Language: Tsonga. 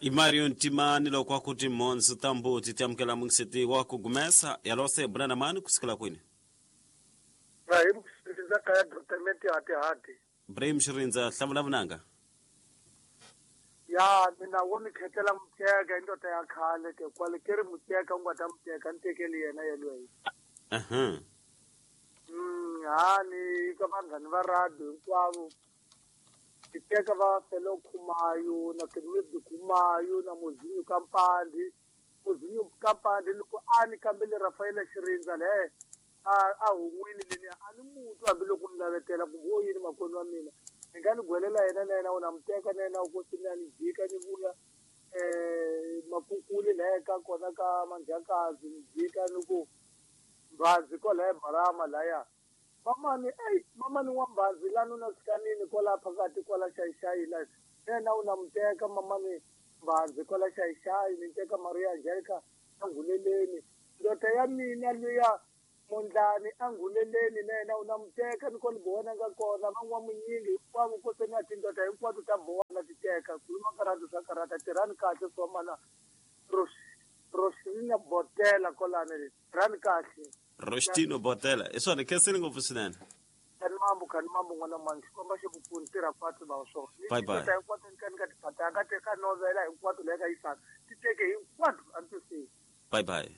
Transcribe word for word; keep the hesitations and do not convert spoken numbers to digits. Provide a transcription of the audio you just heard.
I Mario Ntimani loko a ku timhondzo ta mbuti ti amukela mungiseti wa ku gumesa yalose bula na mani kusukela kwini? Ibrahim Xirindza kaya document hati hati. Ibrahim Xirindza hlamula vunanga. Ya mina wo ni khetela muteka indoda ya khale ke kwale ke ri muteka u nga ta muteka ni tekeli yena yelweyo. Aha. Mm ha ni ka vanghani va radio hinkwavo. Ti teka va Felo Khumayo na Kenwedi Khumayo na Muzinyu Kampandi. Muzinyu Kampandi loko a ni kambele Rafaela Xirindza le a a hun'wini leni a ni mutu hambiloko ni lavetela kumbe wo yini makwenu wa mina. Ni nga ni gwelela yena na yena u na muteka na yena u kosi na ni jika ni vuya eh makukuli la ka kona ka Manjakazi ni jika ni ku Mbhazi kwalaya Barama laya. Mamani ey mamani wa Mbhazi lani una sikanini kwala phakathi kwala xayixayi la yena u na muteka mamani Mbhazi kwala xayixayi ni teka Maria Angelica anguleleni ndoda ya mina luya Mondlani anguleleni na yena u na muteka ni kona bona nga kona van'wa munyingi hinkwavo koseni a tindoda hinkwato ta bona ti teka khuluma karata swa karata tirhani kahle swa mana Rosina Botela kolani tirhani kahle Rostino Botela i swona khensile ngopfu swinene. Kani mambo kani mambo n'wana mani xikomba xi ku pfuni tirha kwatsi va swona. Bye bye. Tindoda hinkwato ni ka ni ka tiphatanga teka novela hinkwato leyi ka yisaka ti teke hinkwato a ni twisisi. Bye bye.